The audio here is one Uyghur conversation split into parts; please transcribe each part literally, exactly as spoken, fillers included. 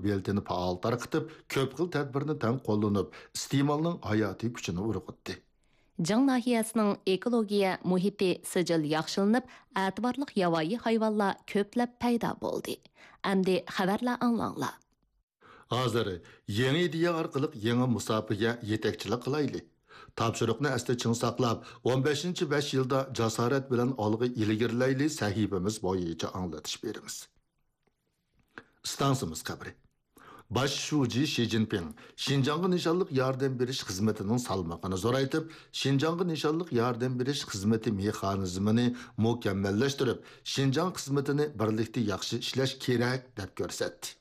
بېلىتىنى پائال تارقىتىپ، كۆپ خىل تەدبىرنى تەڭ قوللىنىپ، ئىستېمالنىڭ ھاياتىي كۈچىنى ئۇرغۇتتى. جاڭ ناھىيەسىنىڭ ئېكولوگىيە مۇھىتى سىجىل ياخشىلىنىپ، ئەتىۋارلىق ياۋايى ھايۋانلار كۆپلەپ پەيدا بولدى. ئەمدى خەۋەرلەر ئاڭلاڭلار. ھازىر يېڭى ئىدىيە ئارقىلىق يېڭى مۇساپىگە يېتەكچىلىك قىلايلى. تاپشۇرۇقنى ئەستە چىڭ ساقلاپ، ئون بەشىنچى بەش يىلدا جاسارەت بىلەن ئالغا ئىلگىرىلەيلى سەھىپىمىز بويىچە ئاڭلىتىش بېرىمىز. ئىستانسىمىز خەۋىرى. باش شۇجى شى جىنپىڭ شىنجاڭغا نىشانلىق ياردەم بېرىش خىزمىتىنىڭ سالمىقىنى زورايتىپ، شىنجاڭغا نىشانلىق ياردەم بېرىش خىزمىتى مېخانىزمىنى مۇكەممەللەشتۈرۈپ، شىنجاڭ خىزمىتىنى بىرلىكتە ياخشى ئىشلەش كېرەك، دەپ كۆرسەتتى.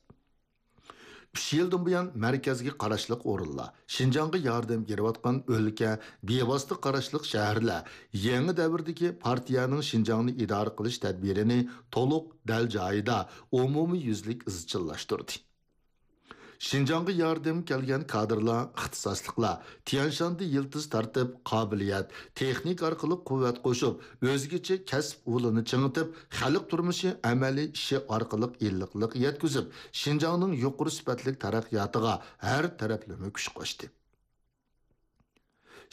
ئۈچ يىلدىن بۇيان مەركەزگە قاراشلىق ئورۇنلار، شىنجاڭغا ياردەم بېرىۋاتقان ئۆلكە، بىۋاسىتە قاراشلىق شەھەرلەر يېڭى دەۋردىكى پارتىيەنىڭ شىنجاڭنى ئىدارە قىلىش تەدبىرىنى تولۇق، دەل جايىدا، ئومۇميۈزلۈك ئىزچىللاشتۇردى. شىنجاڭغا ياردەم كەلگەن كادىرلار، ئىختىساسلىقلار تيەنشاندا يىلتىز تارتىپ، قابىلىيەت، تېخنىكا ئارقىلىق قۇۋۋەت قوشۇپ، ئۆزگىچە كەسىپ ئۇلىنى چىڭىتىپ، خەلق تۇرمۇشى ئەمەلىي ئىشى ئارقىلىق ئىللىقلىق يەتكۈزۈپ، شىنجاڭنىڭ يۇقىرى سۈپەتلىك تەرەققىياتىغا ھەر تەرەپلىمە كۈچ قوشتى.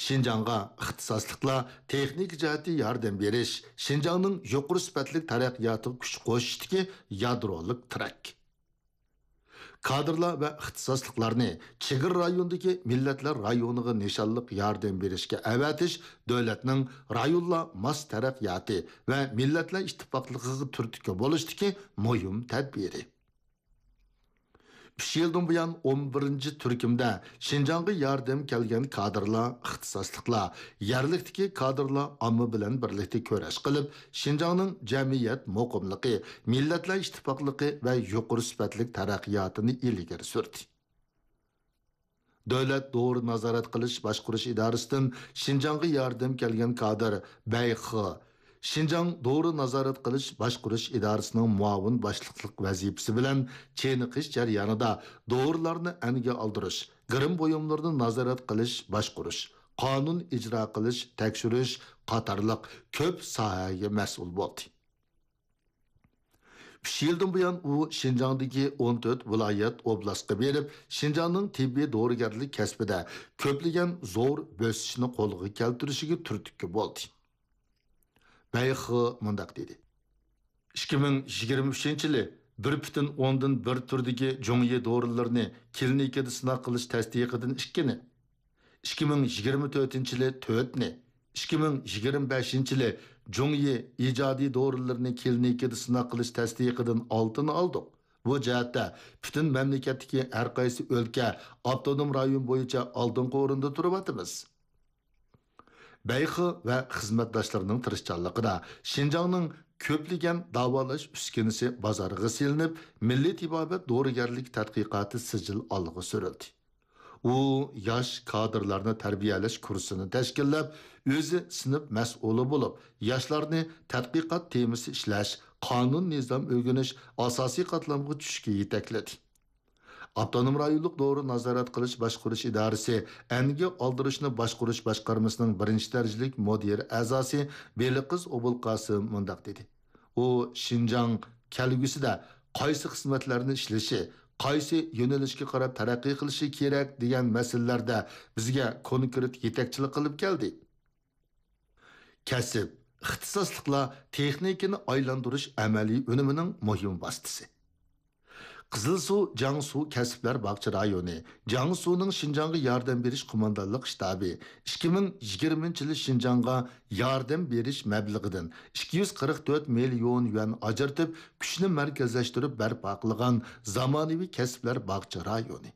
شىنجاڭغا ئىختىساسلىقلار تېخنىكا جەھەتتە ياردەم بېرىش، شىنجاڭنىڭ يۇقىرى سۈپەتلىك تەرەققىياتىغا كۈچ قوشۇشتىكى يادرولۇك تىرەك. كادىرلار ۋە ئىختىساسلىقلارنى چېگرا رايونىدىكى مىللەتلەر رايونىغا نىشانلىق ياردەم بېرىشكە ئەۋەتىش دۆلەتنىڭ رايونلار ماس تەرەققىياتى ۋە مىللەتلەر ئىتتىپاقلىقىغا تۈرتكە بولۇشتىكى مۇھىم تەدبىرى. ئۈچ يىلدىن بۇيان ئون بىرىنچى تۈركۈمدە شىنجاڭغا ياردەم كەلگەن كادىرلار، ئىختىساسلىقلار، يەرلىكتىكى كادىرلار ئامما بىلەن بىرلىكتە كۈرەش قىلىپ، شىنجاڭنىڭ جەمئىيەت مۇقىملىقى، مىللەتلەر ئىتتىپاقلىقى ۋە يۇقىرى سۈپەتلىك تەرەققىياتىنى ئىلگىرى سۈردى. دۆلەت دورا نازارەت قىلىش باشقۇرۇش ئىدارىسىدىن شىنجاڭغا ياردەم كەلگەن كادىر بەي خې، شىنجاڭ دورا نازارەت قىلىش باشقۇرۇش ئىدارىسىنىڭ مۇئاۋىن باشلىقلىق ۋەزىپىسى بىلەن چېنىقىش جەريانىدا دورىلارنى ئەنگە ئالدۇرۇش، گىرىم بۇيۇملىرىنى نازارەت قىلىش باشقۇرۇش، قانۇن ئىجرا قىلىش، تەكشۈرۈش قاتارلىق كۆپ ساھەگە مەسئۇل بولدى. ئۈچ يىلدىن بۇيان ئۇ شىنجاڭدىكى ئون تۆت ۋىلايەت، ئوبلاستقا بېرىپ، شىنجاڭنىڭ تېببىي دورىگەرلىك كەسپىدە كۆپلىگەن زور بۆسۈشنى قولغا كەلتۈرۈشىگە تۈرتكە بولدى. بەي خې مۇنداق دېدى: ئىككى مىڭ يىگىرمە ئۈچىنچى يىلى بىر پۈتۈن ئوندىن بىر تۈردىكى جۇڭيى دورىلىرىنى كلىنىكىدا سىناق قىلىش تەستىقىدىن ئىككىنى، ئىككى مىڭ يىگىرمە تۆتىنچى يىلى تۆتنى، ئىككى مىڭ يىگىرمە بەشىنچى يىلى جۇڭيى ئىجادىي دورىلىرىنى كلىنىكىدا سىناق قىلىش تەستىقىدىن ئالتىنى ئالدۇق. بۇ جەھەتتە پۈتۈن مەملىكەتتىكى ھەر قايسى ئۆلكە، ئاپتونوم رايون بويىچە ئالدىنقى ئورۇندا تۇرۇۋاتىمىز. بەي خې ۋە خىزمەتداشلىرىنىڭ تىرىشچانلىقىدا شىنجاڭنىڭ كۆپلىگەن داۋالاش ئۈسكۈنىسى بازارغا سېلىنىپ، مىللىي تېبابەت دورىگەرلىك تەتقىقاتى سىجىل ئالغا سۈرۈلدى. ئۇ ياش كادىرلارنى تەربىيەلەش كۇرسىنى تەشكىللەپ، ئۆزى سىنىپ مەسئۇلى بولۇپ، ياشلارنى تەتقىقات تېمىسى ئىشلەش، قانۇن-نىزام ئۆگىنىش، ئاساسىي قاتلامغا چۈشۈشكە يېتەكلىدى. ئاپتونوم رايونلۇق دورا نازارەت قىلىش باشقۇرۇش ئىدارىسى ئەنگە ئالدۇرۇشنى باشقۇرۇش باشقارمىسىنىڭ بىرىنچى دەرىجىلىك مۇدىر ئەزاسى بېلىقىز ئوبۇلقاسىم مۇنداق دېدى: ئۇ شىنجاڭ كەلگۈسىدە قايسى خىزمەتلەرنى ئىشلىشى، قايسى يۆنىلىشكە قاراپ تەرەققىي قىلىشى كېرەك دېگەن مەسىلىلەردە بىزگە كونكرېت يېتەكچىلىك قىلىپ كەلدى. كەسىپ، ئىختىساسلىقلار تېخنىكىنى ئايلاندۇرۇش ئەمەلىي ئۈنۈمىنىڭ مۇھىم ۋاسىتىسى. قىزىلسۇ جياڭسۇ كەسىپلەر باغچە رايونى، جياڭسۇنىڭ شىنجاڭغا ياردەم بېرىش قوماندانلىق شتابى ئىككى مىڭ يىگىرمىنچى يىلى شىنجاڭغا ياردەم بېرىش مەبلىغىدىن ئىككى يۈز قىرىق تۆت مىليون يۈەن ئاجرىتىپ، كۈچنى مەركەزلەشتۈرۈپ بەرپا قىلغان زامانىۋى كەسىپلەر باغچە رايونى.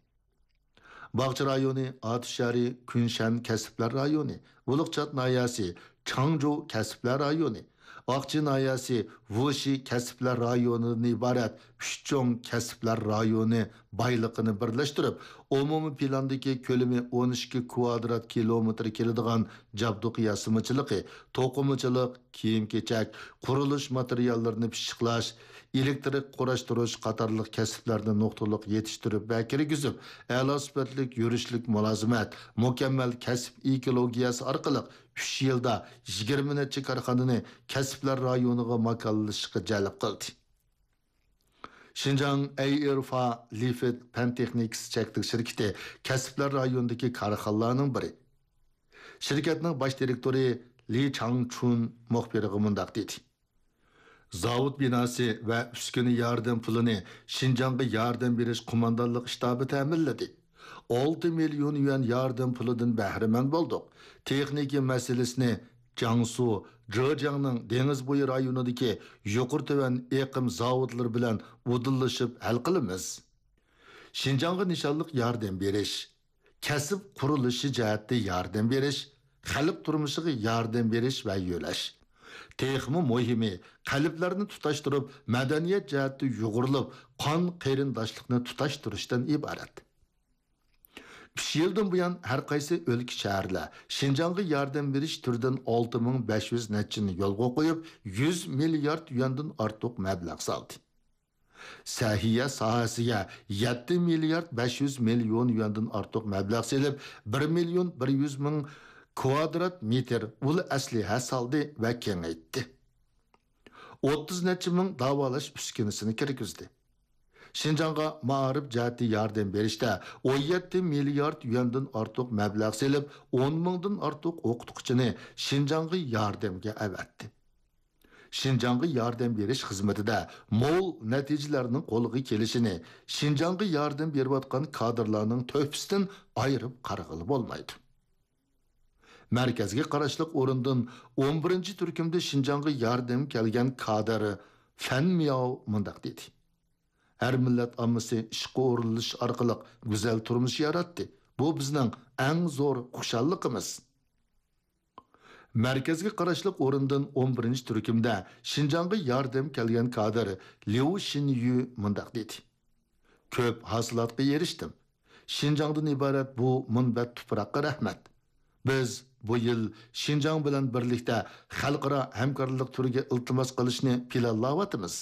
باغچە رايونى ئاتۇش شەھىرى كۈنشەن كەسىپلەر رايونى، ۋۇلۇغچات ناھىيەسى چاڭجۇ كەسىپلەر رايونى، ئاقچى ناھىيەسى ۋۇشى كەسىپلەر رايونىدىن ئىبارەت ئۈچ چوڭ كەسىپلەر رايونى بايلىقىنى بىرلەشتۈرۈپ، ئومۇمىي پىلاندىكى كۆلىمى ئون ئىككى كۋادرات كىلومېتىر كېلىدىغان جابدۇق ياسىمىچىلىقى، توقۇمىچىلىق، كىيىم-كېچەك، قۇرۇلۇش ماتېرىياللىرىنى پىششىقلاش، ئېلېكترىك قۇراشتۇرۇش قاتارلىق كەسىپلەرنى نۇقتىلىق يېتىشتۈرۈپ ۋە كىرگۈزۈپ، ئەلا سۈپەتلىك يۈرۈشلۈك مۇلازىمەت، مۇكەممەل كەسىپ ئېكولوگىيەسى ئارقىلىق ئۈچ يىلدا يىگىرمە نەچچە كارخانىنى كەسىپلەر رايونىغا ماكانلىشىشقا جەلپ قىلدى. شىنجاڭ ئەيئېرفا لىفىت پەن تېخنىكىسى چەكلىك شىركىتى كەسىپلەر رايونىدىكى كارخانىلارنىڭ بىرى. شىركەتنىڭ باش دىرېكتورى لى چاڭچۈن مۇخبىرغا مۇنداق دېدى: زاۋۇت بىناسى ۋە ئۈسكۈنە ياردەم پۇلىنى شىنجاڭغا ياردەم بېرىش قوماندانلىق شتابى تەمىنلىدى. ئالتە مىليون يۈەن ياردەم پۇلىدىن بەھرىمەن بولدۇق. تېخنىكا مەسىلىسىنى جياڭسۇ، جېجياڭنىڭ دېڭىز بويى رايونىدىكى يۇقىرى تۆۋەن ئېقىم زاۋۇتلىرى بىلەن ئۇدۇللىشىپ ھەل قىلىمىز. شىنجاڭغا نىشانلىق ياردەم بېرىش، كەسىپ قۇرۇلۇشى جەھەتتە ياردەم بېرىش، خەلق تۇرمۇشىغا ياردەم بېرىش ۋە يۆلەش. تېخىمۇ مۇھىمى، قەلبلەرنى تۇتاشتۇرۇپ، مەدەنىيەت جەھەتتە يۇغۇرۇلۇپ، قان قېرىنداشلىقنى تۇتاشتۇرۇشتىن ئىبارەت. ئۈچ يىلدىن بۇيان، ھەر قايسى ئۆلكە، شەھەرلەر شىنجاڭغا ياردەم بېرىش تۈرىدىن ئالتە مىڭ بەش يۈز نەچچىنى يولغا قويۇپ، يۈز مىليارد يۈەندىن ئارتۇق مەبلەغ سالدى. سەھىيە ساھەسىگە يەتتە مىليارد بەش يۈز مىليون يۈەندىن ئارتۇق مەبلەغ سېلىپ، بىر مىليون بىر يۈز مىڭ كۋادرات مېتىر ئۇل ئەسلىھە سالدى ۋە كېڭەيتتى. ئوتتۇز نەچچە مىڭ داۋالاش ئۈسكۈنىسىنى كىرگۈزدى. شىنجاڭغا مائارىپ جەھەتتە ياردەم بېرىشتە ئون يەتتە مىليارد يۈەندىن ئارتۇق مەبلەغ سېلىپ، ئون مىڭدىن ئارتۇق ئوقۇتقۇچىنى شىنجاڭغا ياردەمگە ئەۋەتتى. شىنجاڭغا ياردەم بېرىش خىزمىتىدە مول نەتىجىلەرنىڭ قولغا كېلىشىنى شىنجاڭغا ياردەم بېرىۋاتقان كادىرلارنىڭ تۆھپىسىدىن ئايرىپ قارىغىلى بولمايدۇ. مەركەزگە قاراشلىق ئورۇندىن ئون بىرىنچى تۈركۈمدە شىنجاڭغا ياردەم كەلگەن كادىر فەن مياۋ مۇنداق دېدى: ھەر مىللەت ئاممىسى ئىشقا ئورۇنلىشىش ئارقىلىق گۈزەل تۇرمۇش ياراتتى. بۇ بىزنىڭ ئەڭ زور خۇشاللىقىمىز. مەركەزگە قاراشلىق ئورۇندىن ئون بىرىنچى تۈركۈمدە شىنجاڭغا ياردەم كەلگەن كادىر ليۇ شىنيۈ مۇنداق دېدى: كۆپ ھاسىلاتقا ئېرىشتىم. شىنجاڭدىن ئىبارەت بۇ مۇنبەت تۇپراققا رەھمەت. بىز بۇ يىل شىنجاڭ بىلەن بىرلىكتە خەلقئارا ھەمكارلىق تۈرىگە ئىلتىماس قىلىشنى پىلانلاۋاتىمىز.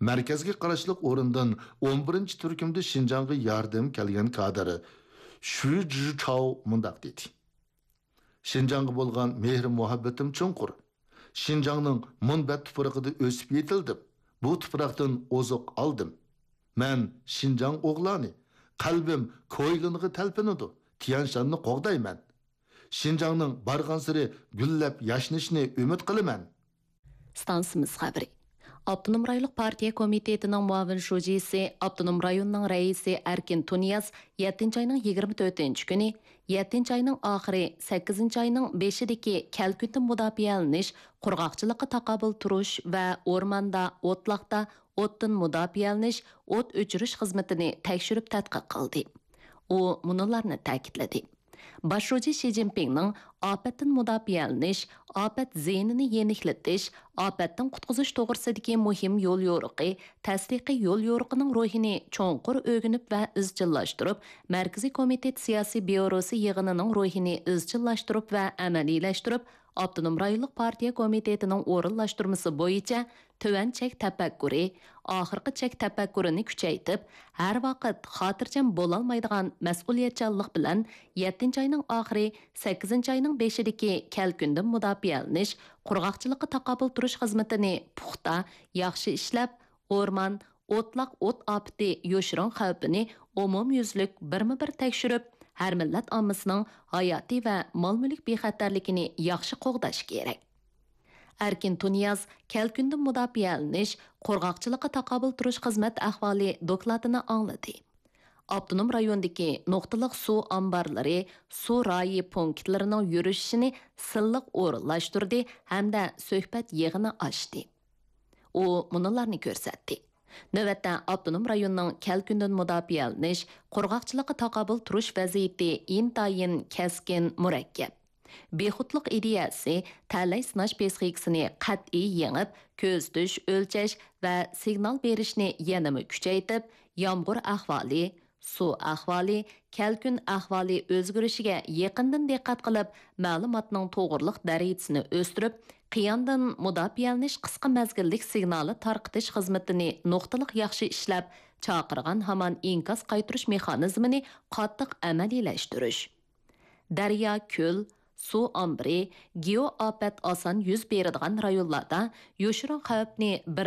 مەركەزگە قاراشلىق ئورۇندىن ئون بىرىنچى تۈركۈمدە شىنجاڭغا ياردەم كەلگەن كادىر شۈ جىچاۋ مۇنداق دېدى: شىنجاڭغا بولغان مېھرى-مۇھەببىتىم چوڭقۇر. شىنجاڭنىڭ مۇنبەت تۇپرىقىدا ئۆسۈپ يېتىلدىم. بۇ تۇپراقتىن ئوزۇق ئالدىم. مەن شىنجاڭ ئوغلانى. قەلبىم كويلىنغا تەلپۈنىدۇ. تيەنشاننى قوغدايمەن. شىنجاڭنىڭ بارغانسېرى گۈللەپ ياشنىشىنى ئۈمىد قىلىمەن. ئىستانسىمىز خەۋىرى. ئاپتونوم رايونلۇق پارتىيە كومىتېتىنىڭ مۇئاۋىن شۇجىسى، ئاپتونوم رايوننىڭ رەئىسى ئەركىن تۇنىياز يەتتىنچى ئاينىڭ يىگىرمە تۆتىنچى كۈنى، يەتتىنچى ئاينىڭ ئاخىرى، سەككىزىنچى ئاينىڭ بېشىدىكى كەلكۈندىن مۇداپىئەلىنىش، قۇرغاقچىلىققا تاقابىل تۇرۇش ۋە ئورماندا، ئوتلاقتا ئوتتىن مۇداپىئەلىنىش، ئوت ئۆچۈرۈش خىزمىتىنى تەكشۈرۈپ تەتقىق قىلدى. ئۇ مۇنۇلارنى تەكىتلىدى: باش شۇجى شى جىنپىڭنىڭ ئاپەتتىن مۇداپىئەلىنىش، ئاپەت زىيىنىنى يېنىكلىتىش، ئاپەتتىن قۇتقۇزۇش توغرىسىدىكى مۇھىم يوليورۇقى، تەستىقىي يوليورۇقىنىڭ روھىنى چوڭقۇر ئۆگىنىپ ۋە ئىزچىللاشتۇرۇپ، مەركىزىي كومىتېت سىياسىي بيۇروسى يىغىنىنىڭ روھىنى ئىزچىللاشتۇرۇپ ۋە ئەمەلىيلەشتۈرۈپ، ئاپتونوم رايونلۇق پارتىيە كومىتېتىنىڭ ئورۇنلاشتۇرمىسى بويىچە تۆۋەن چەك تەپەككۇرى، ئاخىرقى چەك تەپەككۇرىنى كۈچەيتىپ، ھەر ۋاقىت خاتىرجەم بولالمايدىغان مەسئۇلىيەتچانلىق بىلەن يەتتىنچى ئاينىڭ ئاخىرى، سەككىزىنچى ئاينىڭ بېشىدىكى كەلكۈندىن مۇداپىئەلىنىش، قۇرغاقچىلىققا تاقابىل تۇرۇش خىزمىتىنى پۇختا، ياخشى ئىشلەپ، ئورمان، ئوتلاق ئوت ئاپىتى يوشۇرۇن خەۋپىنى ئومۇميۈزلۈك بىرمۇبىر تەكشۈرۈپ، ھەر مىللەت ئاممىسىنىڭ ھاياتىي ۋە مال-مۈلۈك بىخەتەرلىكىنى ياخشى قوغداش كېرەك. ئەركىن تۇنىياز كەلكۈندىن مۇداپىئەلىنىش، قۇرغاقچىلىققا تاقابىل تۇرۇش خىزمەت ئەھۋالى دوكلاتىنى ئاڭلىدى. ئاپتونوم رايوندىكى نۇقتىلىق سۇ ئامبارلىرى، سۇ رايى پونكىتلىرىنىڭ يۈرۈشۈشىنى سىنلىق ئورۇنلاشتۇردى ھەمدە سۆھبەت يىغىنى ئاچتى. ئۇ مۇنۇلارنى كۆرسەتتى. نۆۋەتتە ئاپتونوم رايوننىڭ كەلكۈندىن مۇداپىئەلىنىش، قۇرغاقچىلىققا تاقابىل تۇرۇش ۋەزىيىتى ئىنتايىن كەسكىن، مۇرەككەپ. بىخۇدلۇق ئىدىيەسى، تەلەي سىناش پسىخىكىسىنى قەتئىي يېڭىپ، كۆزىتىش، ئۆلچەش ۋە سىگنال بېرىشنى يەنىمۇ كۈچەيتىپ، يامغۇر ئەھۋالى، سۇ ئەھۋالى، كەلكۈن ئەھۋالى ئۆزگىرىشىگە يېقىندىن دىققەت قىلىپ، مەلۇماتنىڭ توغرىلىق دەرىجىسىنى ئۆستۈرۈپ، قىياندىن مۇداپىئەلىنىش قىسقا مەزگىللىك سىگنالى تارقىتىش خىزمىتىنى نۇقتىلىق ياخشى ئىشلەپ، چاقىرغان ھامان ئىنكاس قايتۇرۇش مېخانىزمىنى قاتتىق ئەمەلىيلەشتۈرۈش. دەريا، كۆل، سۇ ئامبىرى، گېئو ئاپەت ئاسان يۈز بېرىدىغان رايونلاردا يوشۇرۇن خەۋپنى بىر